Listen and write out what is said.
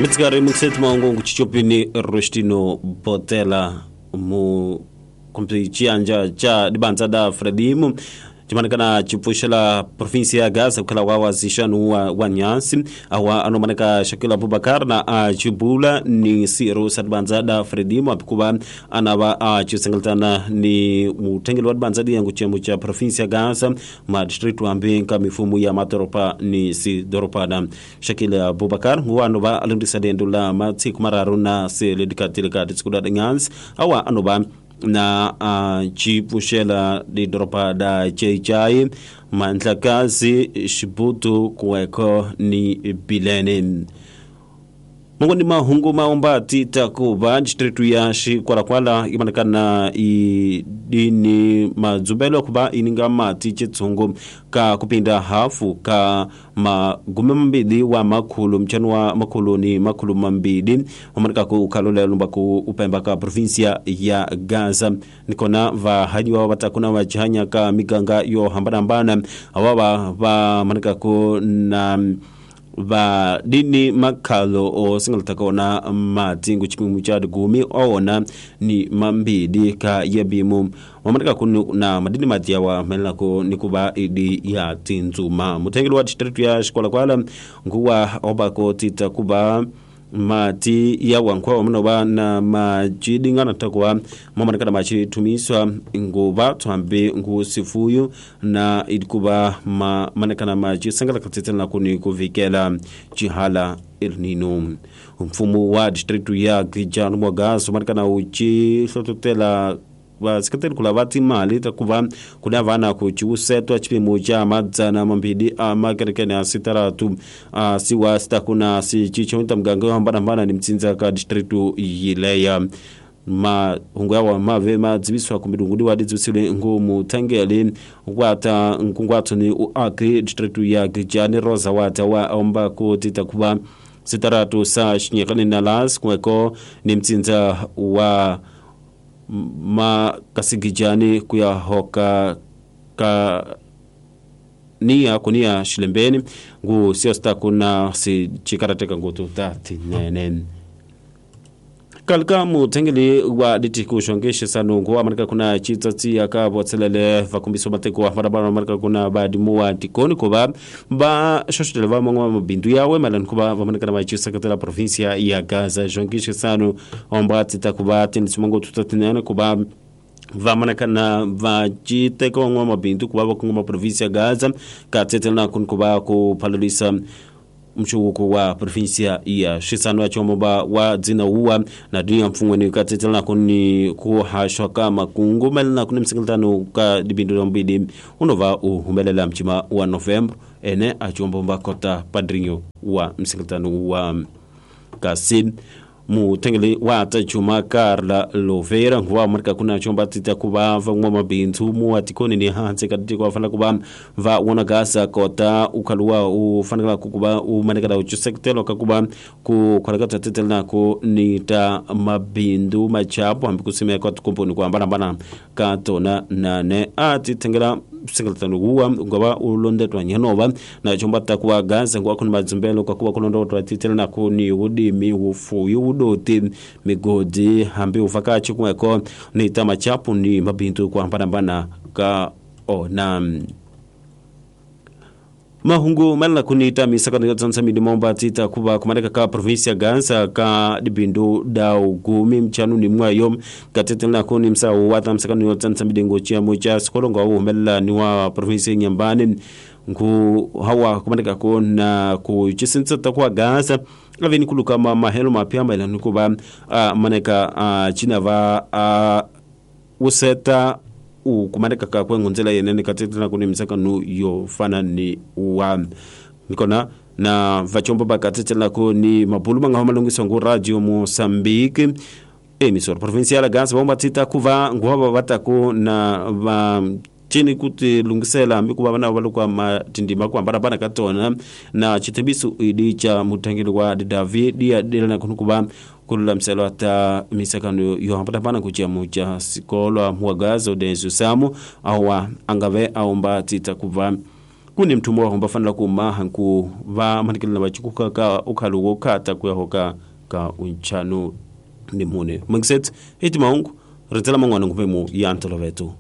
Mitsikari mukiseti maungu chichopini Rostino Botela mu kumpi chianja cha dibanza da Frelimo chimanekana chipfuxela provinsia ya Gaza kukhala wa wazixanu wa Nyansi awa anomaneka Shakil Abubakar na achibula ni siro sa dibanza da Frelimo apikuva anava achisengeletana ni mutengeli wa dibanza diyangu chiyambo cha provinsia ya Gaza ma district ambi nka mifumu ya matoropa ni sidoropana. Shakil Abubakar nguwa anova alundisa dendo la matsiku mararu na seledikatilika titsikuda Nyansi awa anova na chipfuxela didoropa da Cheichai Mandlakazi Xibutu Kuweko ni Bilene. Mongoni mahungu maomba tita kuva distritu ya Xikwalakwala imanekana idini madzumbelo kuva ininga mati chitsungu ka kupinda hafu ka magume mambili wa makhulu mchano wa makhulu ni makhulu mambili omaneka ku ukalola lumba ku upemba ka provinsia ya Gaza nikona vahanyiwa vatakuna vachihanya ka miganga yo hambanahambana awawa vamaneka ku na va dini makhalo o singalataka mati nguchipimu cha gumi oona ni mambili ka yebimu wamanika kunu na madini mati yawa melako nikuba idi ya tinzuma mutengeli wa district ya Xikwalakwala nguwa obako tita kuba mati yawa nkwa wamanoba na majidingana takuwa mamanika na machitumiswa nguba twambe ngusifuyu na idikuba maneka na maji sangala katetela kuni kuvikela chihala El Nino. Mfumo wa district ya Gijanu Mwagaso maneka na uchi hlototela vaseketeli kula va timali takuva kuna vana ku chiusetwa chipimo cha madzana mambili a makerekene a sitaratu a siwa sitakuna sichichonta mganga hambanahambana ni mtsinza ka distritu yileya mahungu yawa mave madziviswa kumidungudi wadidzivisile ngumu tangeli wata nkungwatso ni uakri distritu ya Gijani Rosa wata wa omba kuti takuva sitaratu sa xinyekani na las kuweko ni mtsinza wa ma kasigijani kuya hoka ka nia kunia shilembeni ngu siosta kuna si chikarateka ngutu tati nene kalka mutengeli wa ditiku shongeshe sanungu wa marika kuna chitsatsi yaka botselele vakumbiso mateko wa marabara marika kuna badimu wa tikoni kuba ba shoshotele va mangwa mabindu yawe malan kuba vamaneka na machisa provincia ya Gaza shongeshe sanu omba titakuba tinisimango tutatinene kuba vamaneka na vachiteko ngwa mabindu kuba vakunguma provincia ya Gaza katsetela kunkuba kupalulisa mshuku wa provinsia ya Shisano ya chomba wa dzina uwa na dunia mfungweni katetela kuni kuhashwa kama kungumela na kuni msingeltano ka dibindu mbili unova uhumelela mchima wa November ene achombomba kota padrinho wa msingeltano wa kasi mutengeli wa tachuma Carla Lovera nguwa marika kuna chomba tita kuba vangwa mabintu mu atikoni ni hanse kaditi kwa fana kuba va wana gasa kota ukaluwa ufanakala kukuba umanekala uchusekutelo kakuba kukalakata tetela nako nita mabindu machapo hambi kusimia kwa tukumpuni kwa mbana katona nane atitengela singalatano uwa ngaba ulondetwa nyanova na chomba takuwa gaza ngwa kuna mazumbelo kwa kuwa kulondotwa titela nako ni udimi ufuyu udoti migodi hambi ufakachi kumweko ni tamachapu ni mabintu kwa mpanambana ka ona mahungu malala kunita misaka ndio midimomba tita kuba kumaneka ka provincia Gansa ka dibindu da ugumi mchanu ni mwayo katetela kuni msa wata msaka ndio tsansa chia moja sikolonga umelela ni wa provincia Nyambani ngu hawa kumaneka kona kuchisensa takwa Gaza aveni kuluka mahelo mapya mailani kuba maneka china va useta ukumaneka ka kwengonzela yenene katetela kuni msaka nu yo fana ni wa nikona na vachombo bakatetela kuni mabulu manga malungiso ngu radio Mozambique emisor provincial Gaza bomba tita kuva nguwa bataku na va chini kuti lungisela mikuba bana balukwa matindima kwa barabara katona na chitebisu idi cha mutangili wa David dia delana kunukuba kulula mselo ata misakano yo hapata kuchia mucha sikolwa muagazo densu samu awa angave aomba tita kuva Kuni mthumo wa homba fanela ku maha nku va manikela va chikuka ka ukhalo wo khata ku ya hoka ka unchano ni mune mangiset eti mahungu rindzela man'wana nguvemu ya ntoloveto.